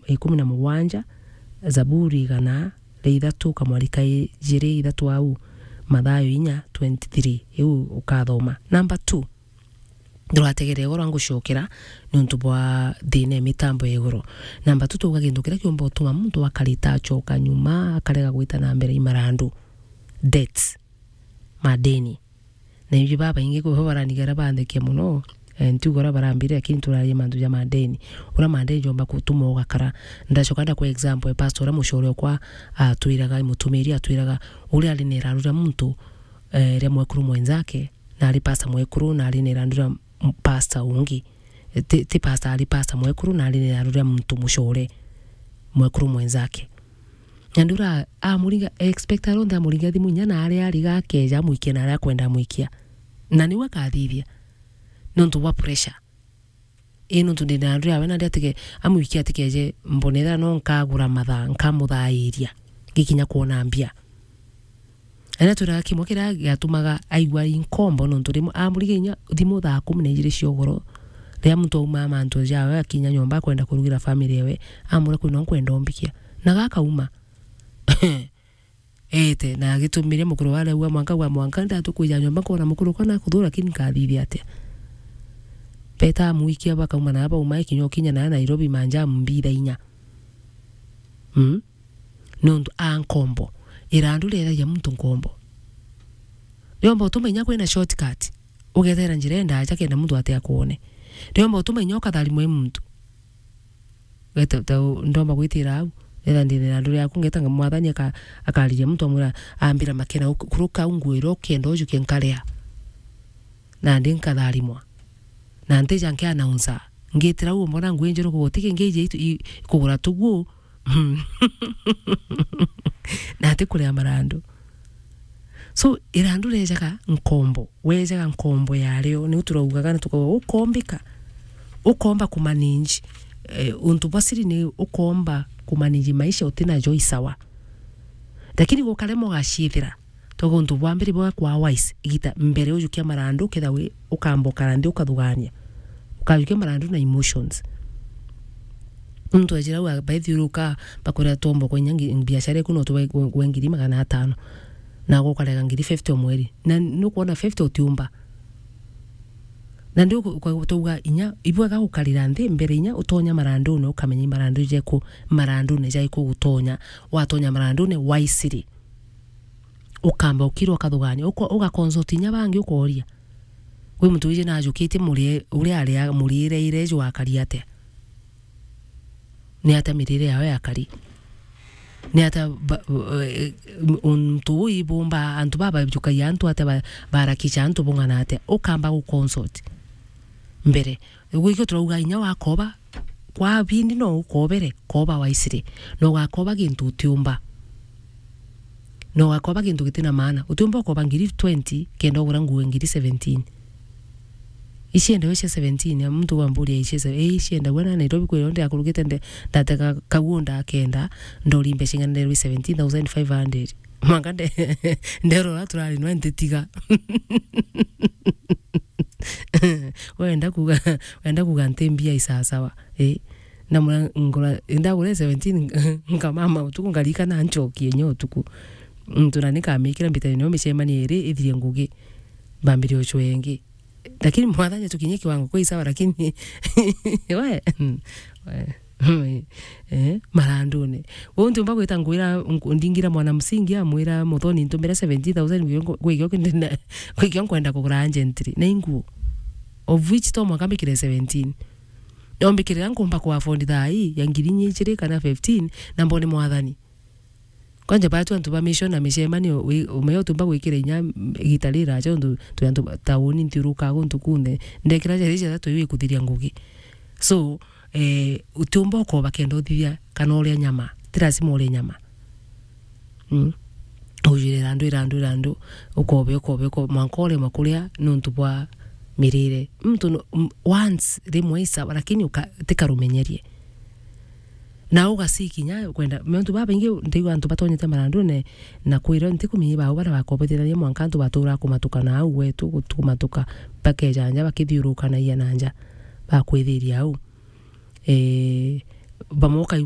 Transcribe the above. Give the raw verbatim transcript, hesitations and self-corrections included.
ikumi na mugwanja, Zaburi igana ria ithatu, kamwarika ijiri ithatu au, Mathayo inya twenty-three, iu ukathoma. Number two, ndurategere igoro ngucokera niuntu bwa thina ya mitambo ya igoro. Number two, twauga gintu kiria kiumba utuma muntu akarita acoka nyuma, akarega gwita na mbere i marandu. Debts, madeni. Na ibi babaingi kwi bo baranigera banthekia mono, eh, ntiuga uria barambire, lakini turaria mantu ja madeni. Uria madeni jomba gutuma ugakara. Ndacoka ndakwa example, eh, pastor uria mucore okwa atwiraga, mutumiri atwiraga, uria ari na irandu ria muntu, eh, ria mwekuru mwenzake, na ari pastor mwekuru, na ari na irandu ria m-, pastor ungi. Eh, ti, ti pastor, ari pastor mwekuru, na ari na irandu ria muntu mucore, mwekuru mwenzake. Na ndura amuringa, expect aronthe amuringa thimu inya na aria ariga akeja amwikia na aria akwenda amwikia. Na niu akathithia. Nontu bwa pressure. Ii nontu ndina ndura awe nandi atige, amwikia atikeje mbonera no nkagura mathaa, nkamuthairia. Ngikinya kwona mbia. Aria twiraga kimwe kiria giatumaga aigua inkombo nontu rimwe amuriga inya thimu thaa kumi na ijiri cia ugoro. Riria muntu auma mantu jawe akinya nyomba akwenda kurugira family ewe, amura kwina nkwenda umbikia. Na gakauma. Ete, na agitumire mukuru wa reu mwanka gwa mwanka ndatukwija nyomba nkona mukuru kana kuthura lakini nkathithia atia? Beta amwikia bakauma na bauma ikinya ukinya na Nairobi manja mbitha inya. Mm? Nontu a nkombo. Irandu riethagia muntu nkombo. Riomba utuma inya kwina shortcut. Ugetera njira endaja kenda muntu ate akwone. Riomba utuma inya ukatharimwe muntu. Weta, ta u-, ndomba gwitira au. Etha ndina irandu riaku, ngeta nga-, mwathani aka-, akariria muntu amwira, ambira makena, uk-, kuruka au nguira ukenda ujuke nkaria. Nandi nkatharimwa. Na ntija nkianaunsa. Ngitira au mbona nguo injeru kuguti kingi iji itu-, i-, kugura tuguo. Na ati kuria marandu. So, irandu rejaga nkombo. Wejaga nkombo yario, niu turaugaga na tukauga, ukombika. Ukomba kumanage. Eh, untu bwa siri ni ukomba kumanage maisha utina jo isawa. Lakini gukaremwa ugaciithira. Togo untu bwa mbere bwa kwa wise, igita mbere ujukia marandu, ketha wi ukamba ukara nthi ukathugania. Ukajukia marandu na emotions. Muntu ejira u abaithiuruka, bakwira twomba kwa inya ngi-, biashara iku no tuwe, we, we ngiri magana atano. Na gukarega ngiri fifty o mweri. Na nukwona fifty utiumba. Na ndio ku-, kwa-, twauga inya, ibwega gukarira nthi mbere inya utonya marandune, ukamenya i marandu jeku, marandune jaiku gutonya. Watonya marandune wisely. Ukamba ukirwa ukathugania, uko-, ugaconsult inya bangi ukoria. Kwi muntu wiji najukitie murie-, uria aria muriire ire jwakari atia? Ni atia mirire yao yakari? Ni atia ba-, eh, untu uu ibumba antu babajukagia antu atia ba-, barakicha antu bung'ana atia? Ukamba guconsult mbere. Gwikio turauga inya wakoba, kwa bindi no ukobere, koba waisire. Na ugakoba gintu utiumba. Na ugakoba gintu gitina maana. Utiumba ukoba ngiri twenty, kenda ugura nguo ngiri seventeen. Iciendawe cia seventeen, ya muntu wamburia ici se-, ii ciendagwa na Nairobi kwira ndi akurugite nde-, ndatega kaguo ndakenda, ndori mbeca ing'ana nderwi seventeen thousand five hundred. Mwanka nde-, nderora turari nwe ntitiga. Wenda kuga, wenda kuga nti mbia isasawa. Eh. Na mura ngura, ndagura seventeen, nkamama utuku, ngarikana nchokie nyo utuku. Muntu na nikamikira mbitani no micemani iri ithire ngugi. Mbambire ucwe ingi. Lakini mwathani tukinye kiwango kwa isawa, lakini we, we, eh, marandune. Wewe ntiumba gwita ngwira, nku-, ndingira mwana msingi, amwira, "Muthoni, ntumira seventy thousand gwikio, gwikio nkwenda kugura urgently." Na inguo. Of which to mwaka mbikire seventeen. Nombikirira nkumba ku afford thaa ii ya ngiri inya ijiri kana fifteen, na mbone mwathani. Kwanja batu antu ba mission na micemanio, wi-, umea utiumba gwikira inya igita riraja, untu twi antu ba tauni nthiurukaga guntu kunthe. Ndekira jari jatha twi wikuthiria ngugi. So, eh, utiumba ukoba kenda uthithia kana uria nyama. Ti lazima urie nyama. Mm. Ujire irandu, irandu, irandu, ukobe, ukobe, ukobe, mwanka uremwa kuria nontu bwa mirire. Muntu no, m-, once, rimwe isawa, lakini uka-, tikarumenyerie. Na ugasi kinya kwenda, mantu babaingi ndigua antu batonyete marandune na kwira ntikumenya bau baria bakobetithania mwanka antu batura kumatuka na au gwetu, gutu-, kumatuka, bakejanja bakithiurukanagia na nja, bakwithiria au. Eh, bamwe ukai-,